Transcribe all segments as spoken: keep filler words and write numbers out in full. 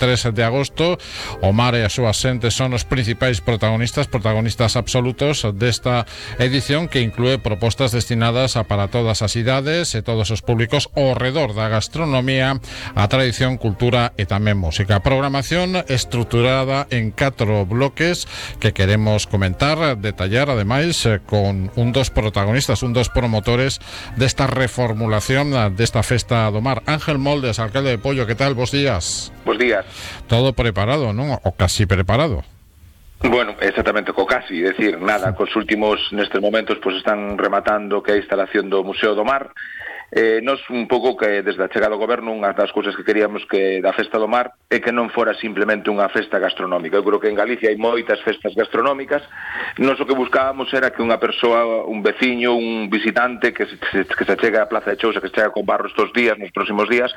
tres de agosto. O mar e as súas xentes son os principais protagonistas, protagonistas absolutos desta edición, que inclúe propostas destinadas a para todas as idades e todos os públicos ao redor da gastronomía, a tradición, cultura e tamén música. Programación estruturada en catro bloques que queremos comentar, detallar, ademais, con un dos protagonistas, un dos promotores desta reformulación desta Festa do Mar. Ángel Moldes, alcalde de Poio, que tal? Bos días. Bos días. Todo preparado, non? O casi preparado. Bueno, exactamente, co casi, decir, nada, cos últimos, nestes momentos, pois están rematando que a instalación do Museo do Mar. Eh, nos un pouco que desde a chegada do goberno unha das cousas que queríamos que da Festa do Mar é que non fora simplemente unha festa gastronómica. Eu creo que en Galicia hai moitas festas gastronómicas. Nos o que buscábamos era que unha persoa, un veciño, un visitante que se, que se chega á Plaza de Chousa, que se chega con Barro estos días, nos próximos días,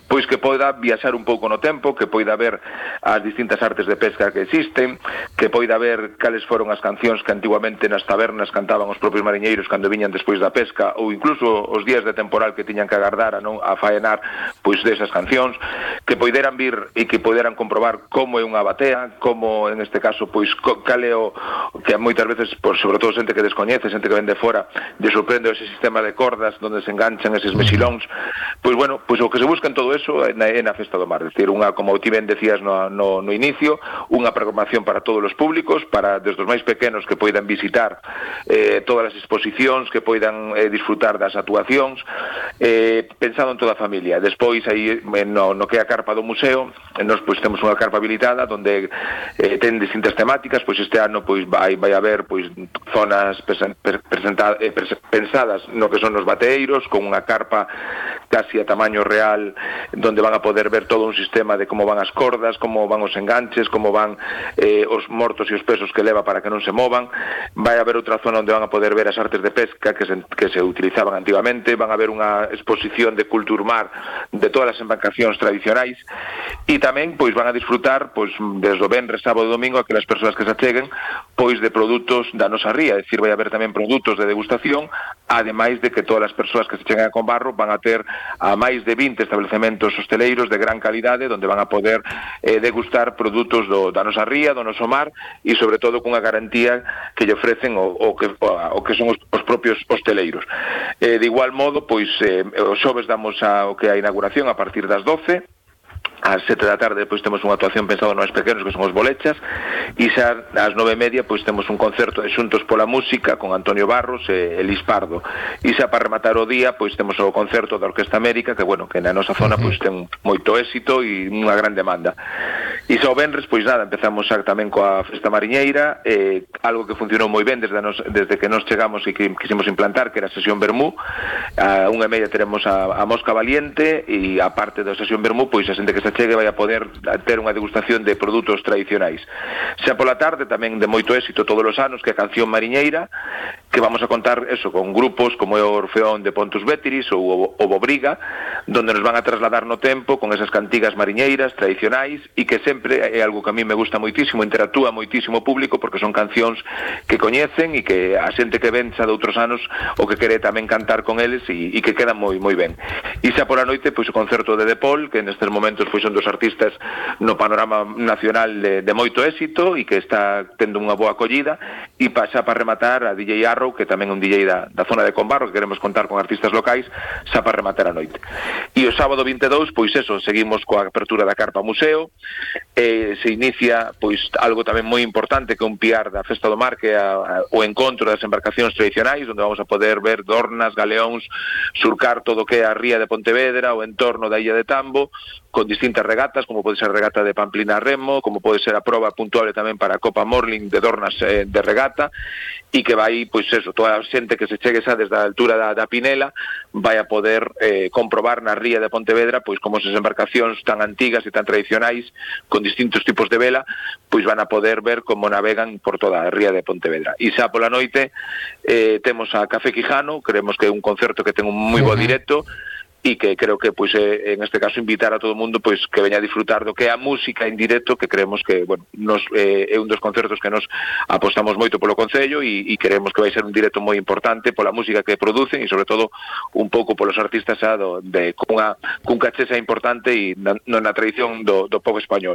pois que poida viaxar un pouco no tempo, que poida ver as distintas artes de pesca que existen, que poida ver cales foron as cancións que antiguamente nas tabernas cantaban os propios mariñeiros cando viñan despois da pesca, ou incluso os días de temporada que tiñan que agardar a non a faenar pois desas cancións, que poideran vir e que poideran comprobar como é unha batea, como en este caso pois cal é o que moitas veces, por sobre todo xente que descoñece, xente que ven de fora, lle sorprende ese sistema de cordas onde se enganchan eses mexilóns. Pois bueno, pois o que se busca en todo eso é na, é na Festa do Mar, é dicir, unha, como ti ben decías no, no, no inicio, unha programación para todos os públicos, para desde os máis pequenos que poidan visitar eh, todas as exposicións, que poidan eh, disfrutar das actuacións, Eh, pensado en toda a familia. Despois aí no, no que é a carpa do museo, nós pois temos unha carpa habilitada onde eh, ten distintas temáticas. Pois este ano pois vai vai haber pois zonas presenta, eh, pensadas no que son os bateeiros, con unha carpa casi a tamaño real, donde van a poder ver todo un sistema de como van as cordas, como van os enganches, como van eh, os mortos e os pesos que leva para que non se movan. Vai haber outra zona onde van a poder ver as artes de pesca que se, que se utilizaban antigamente. Van a haber unha exposición de Culturmar de todas as embarcacións tradicionais, e tamén pois van a disfrutar pois desde o venres, sábado e domingo aquelas persoas que se acheguen pois de produtos da nosa ría, é dicir, vai haber tamén produtos de degustación, ademais de que todas as persoas que se cheguen a Combarro van a ter a máis de vinte establecementos hosteleiros de gran calidade onde van a poder eh, degustar produtos do, da nosa ría, do noso mar, e sobre todo cunha garantía que lle ofrecen o, o, que, o, o que son os, os propios hosteleiros. Eh, de igual modo, pois eh, os xoves damos a, o que é a inauguración a partir das doce. Ás sete da tarde depois temos unha actuación pensada nos pequenos, que son os bolechas, e xa ás nove e media pois temos un concerto de Xuntos pola Música con Antonio Barros e Elis Pardo, e xa para rematar o día pois temos o concerto da Orquesta América, que bueno, que na nosa zona pois ten moito éxito e unha gran demanda. E xa o venres pois nada, empezamos xa tamén coa Festa Mariñeira, eh, algo que funcionou moi ben desde, nos, desde que nos chegamos e que quisimos implantar, que era a sesión Vermú. A unha e media teremos a, a Mosca Valiente, e a parte da sesión Vermú pois a xente que se chegue vai a poder ter unha degustación de produtos tradicionais. Xa pola tarde tamén de moito éxito todos os anos, que é a Canción Mariñeira, que vamos a contar eso con grupos como é o Orfeón de Pontus Bétiris ou o Bobriga, donde nos van a trasladar no tempo con esas cantigas mariñeiras tradicionais, e que sempre é algo que a mí me gusta moitísimo, interactúa moitísimo o público, porque son cancións que coñecen e que a xente que ven xa de outros anos o que quere tamén cantar con eles, e, e que quedan moi moi ben. E xa pola noite pois o concerto de De Paul, que nestes momentos pois son dos artistas no panorama nacional de, de moito éxito e que está tendo unha boa acollida, e xa para rematar a D J Arrow, que tamén é un D J da, da zona de Combarro, que queremos contar con artistas locais xa para rematar a noite. E o sábado vinte e dous, pois eso, seguimos coa apertura da Carpa Museo, eh, se inicia pois algo tamén moi importante que é un piar da Festa do Mar, que é a, a, o encontro das embarcacións tradicionais, onde vamos a poder ver dornas, galeóns, surcar todo o que é a ría de Pontevedra, o entorno da illa de Tambo, con distintas regatas, como pode ser a regata de Pamplina a Remo, como pode ser a proba puntuable tamén para a Copa Morling de dornas eh, de regata, e que vai, pois eso, toda a xente que se chegue xa desde a altura da, da Pinela vai a poder eh, comprobar na ría de Pontevedra pois como esas embarcacións tan antigas e tan tradicionais, con distintos tipos de vela, pois van a poder ver como navegan por toda a ría de Pontevedra. E xa pola noite eh, temos a Café Quijano, creemos que é un concerto que ten un moi bo directo, e que creo que pois é, en este caso invitar a todo o mundo pois que veña a disfrutar do que é a música en directo, que creemos que, bueno, nos eh, é un dos concertos que nos apostamos moito polo Concello e, e queremos que vai ser un directo moi importante pola música que producen e sobre todo un pouco polos artistas xa do, de cunha cun caché xa importante e na, na tradición do, do pop español.